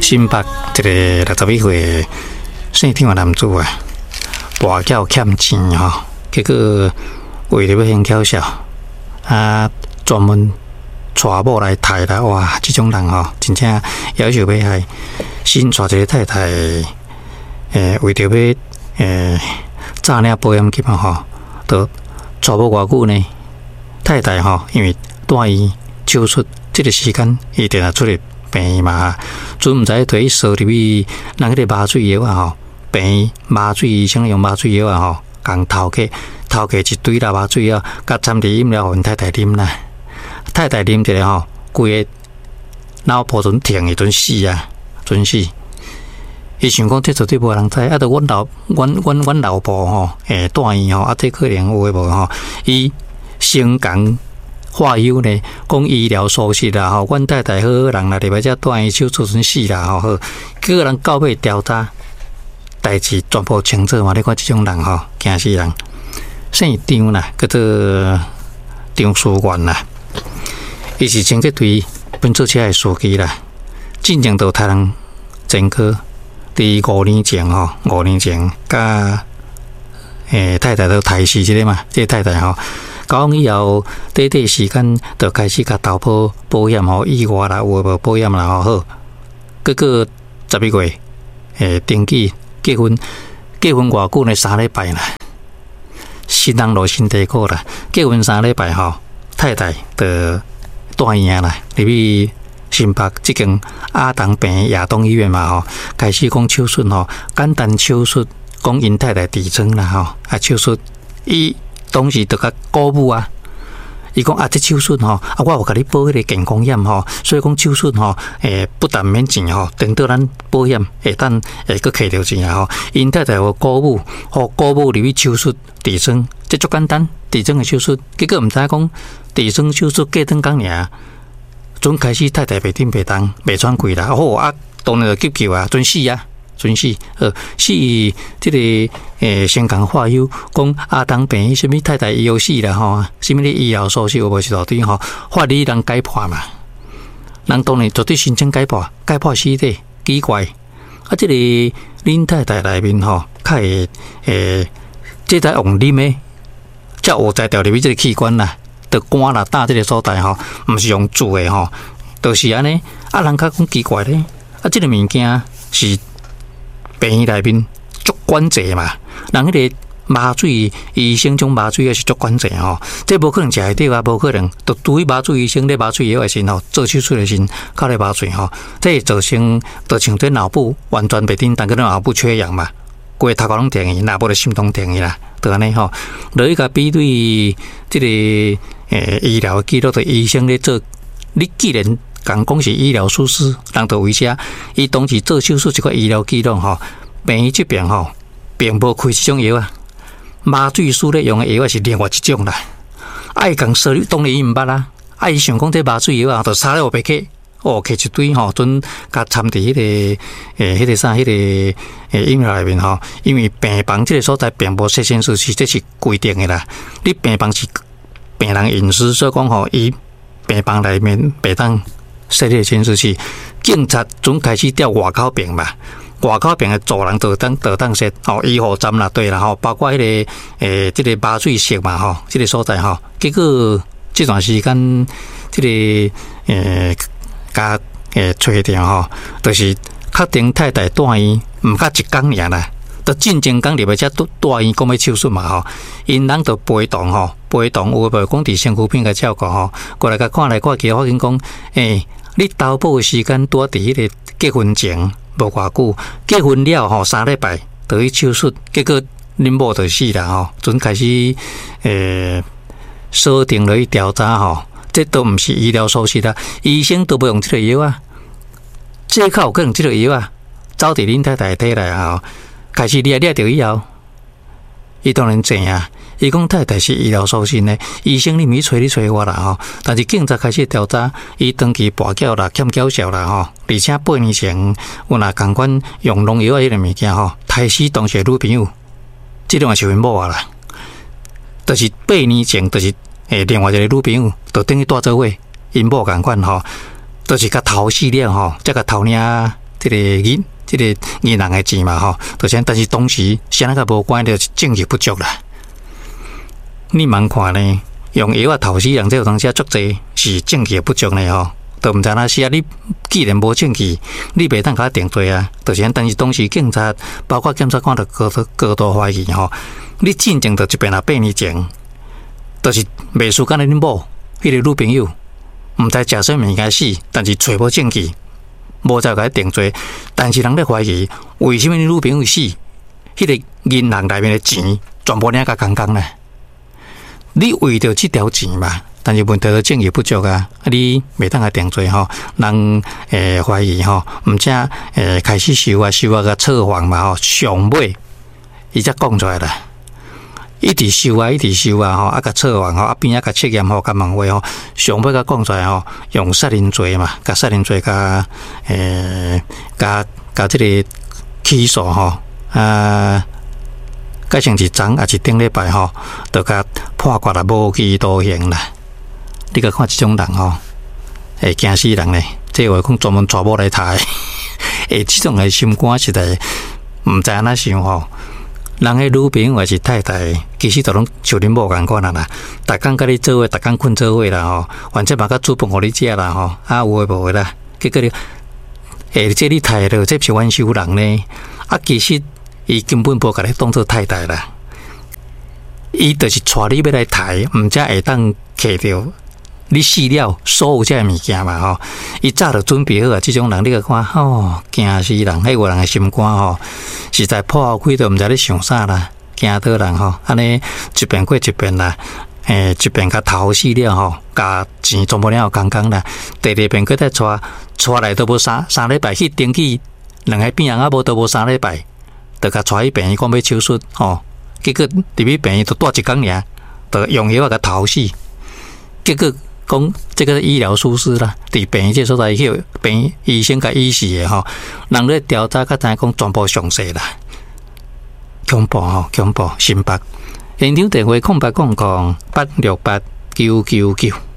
新北一个61歲姓張的男子啊，跋筊欠錢吼，結果為著欲還繳數，啊，專門娶某來刣啦！哇，這種人吼，真正夭壽欲害。新娶一个太太，為著欲詐領保險金啊吼，就娶某偌久呢？太太吼，因為住院手術，這个時間伊定定出入病院嘛，陣毋知提去趖入去人彼个麻醉藥啊吼，病院麻醉醫生用麻醉藥啊吼，共偷去偷去一堆啦麻醉藥，共摻佇飲料，予𪜶太太啉啦。太太啉一下吼，規个腦波陣停去，陣死啊，陣死。伊想講這絕對無人知，啊，著阮老阮阮阮老婆吼，住院吼，啊，這可能有的無吼，伊先共話有呢，講醫療疏失啦吼，阮太太好好人啦，入來遮住院手術陣死啦吼，好，結果人到尾調查，代誌全部清楚嘛，你看這種人吼，驚死人。姓張啦，叫做張思源啦，伊是清潔隊噴水車的司機啦，進前就殺人前科，佇5年前吼，5年前佮太太都刣死這个嘛，這个太太吼，交往以後，短短時間就開始共投保保險吼，意外啦，有無保險啦吼，好，結果11月，登記結婚，結婚偌久呢？3禮拜啦，新人落身體苦啦，結婚三禮拜吼，太太就住院啦，入去新北這間亞東病院亞東醫院嘛吼，開始講手術吼，簡單手術，講𪜶太太痔瘡啦吼，啊手術，伊當時就共鼓舞啊，伊講啊，這手術吼，啊我有共你保彼个健康險吼，所以講手術吼，不但免錢吼，等到咱保險會當會閣摕著錢啊吼。𪜶太太予鼓舞，予鼓舞入去手術痔瘡，這足簡單，痔瘡的手術，結果毋知講痔瘡手術過轉工爾，陣開始太太袂振袂動，袂喘氣啦，好啊，當然就急救啊，陣死啊，陣死，好死，這个先共話有講亞東病院啥物太太伊有死啦吼，啥物咧醫療疏失有無一大堆吼，法理人解剖嘛，人當然絕對申請解剖，解剖屍體，奇怪，啊，這个恁太太內面吼，較會這才用啉的，才有才調入去這个器官啦，著肝啦、膽這个所在吼，毋是用注的吼，就是按呢。啊，人較講奇怪咧，啊，這个物件是病院內面足管制嘛，人彼个麻醉醫生種麻醉藥是足管制吼，這無可能食會著啊，無可能，就對麻醉醫生咧麻醉藥的時吼，做手術的時較咧麻醉吼，這會造成就像這腦部完全袂振動，叫做腦部缺氧嘛，規个頭殼攏停去，若無就心臟停去啦，就按呢吼，落去共比對這个醫療記錄，就醫生咧做，你既然共講是醫療疏失，人就為遮，伊當時做手術這個醫療記錄吼，病院這邊吼，並無開這種藥啊，麻醉師咧用的藥啊是另外一種啦。啊，伊共說你當然伊毋捌啦，啊，伊想講這麻醉藥啊，就啥咧烏白摕，哦，摕一堆吼，陣共摻佇彼个彼个啥，彼个飲料內面吼，因為病房這个所在並無設監視器，這是規定的啦。你病房是病人隱私，所以講吼，伊病房內面袂當設立監視器。警察準開始調外口爿嘛，外口爿的助人就當設吼，醫護站啦，對啦吼，包括彼个這个麻醉室嘛吼，這个所在吼，結果這段時間這个共揣著吼，就是確定太太住院毋較一工爾啦，就進前工入來遮住住院講欲手術嘛吼，𪜶人就陪同吼，陪同有無講佇身軀邊共照顧吼，過來共看來看去，發現講，你投保的時間拄仔佇彼个結婚前無偌久，結婚了吼3禮拜就去手術，結果恁某就死啦吼，陣開始鎖定落去調查吼，這都毋是醫療疏失啦，醫生都無用這个藥啊，這較有可能這个藥啊，走佇恁太太體內吼，開始掠掠著以後，伊當然知啊，伊講太太是醫療疏失呢，醫生你毋去揣你揣我啦吼，但是警察開始調查，伊長期跋筊啦、欠繳數啦吼，而且8年前有若仝款用農藥仔彼个物件吼，刣死當時的女朋友，這種也是𪜶某啊啦，就是八年前，就是另外一个女朋友，就等於蹛做伙，𪜶某仝款吼，就是共刣死了吼，才共偷領這個銀，這個銀行的錢嘛吼，就是但是當時啥人共無關就是證據不足啦。你茫看呢？用藥仔刣死人，這有當時足濟是證據不足呢吼，都毋知影死啊！你既然無證據，你袂當共我定罪啊！就是但是當時警察包括檢察官都高度高度懷疑吼，你進前就一遍啊8年前，就是袂輸干焦恁某彼個女朋友，毋知食啥物件死，但是揣無證據，無才共伊定罪。但是人咧懷疑，為啥物你女朋友死，彼個銀行內面的錢全部領甲空空咧？你為著這條錢嘛，但是問題就證據不足啊，你袂當共定罪吼，人懷疑吼，毋才開始收啊收啊共策反嘛吼，上尾伊才講出來啦，一直收啊，一直收啊吼，啊共策反吼，啊邊仔共測驗吼，共問話吼，上尾才講出來吼，用殺人罪嘛，共殺人罪共共共這個起訴吼啊。改成是昨抑是頂禮拜吼，就共判決啦，無期徒刑啦。你共看這種人吼，會驚死人咧。這話講專門娶某來刣，欸，這種的心肝實在毋知按怎想吼。人彼女朋友還是太太，其實都攏像恁某仝款啦。逐工佮你做伙，逐工睏做伙啦吼，反正嘛閣煮飯予你食啦吼，啊有的無的啦。結果你，欸，這你刣了，這是冤仇人呢。啊，其實。伊根本無共你當做太太啦，伊就是帶你欲來刣，毋才會當揢著你死了所有這个物件嘛吼。伊早就準備好啊，這種人你共看吼，驚死人！彼有人的心肝吼，實在破開都毋知咧想啥啦，驚倒人吼。按呢一遍過一遍啦，欸，一遍共刣死了吼，共錢全部領予空空啦。第二遍閣再帶，帶來都無三禮拜去登記，兩个病人猶無都無三禮拜。就共帶去病院講欲手術吼，結果入去病院就蹛一工爾，就用藥仔共刣死。結果講這個醫療疏失啦，佇病院這所在去病院醫生共醫死的吼，人咧調查才知影講全部詳細啦，恐怖吼，恐怖！新北現場電話0800868999。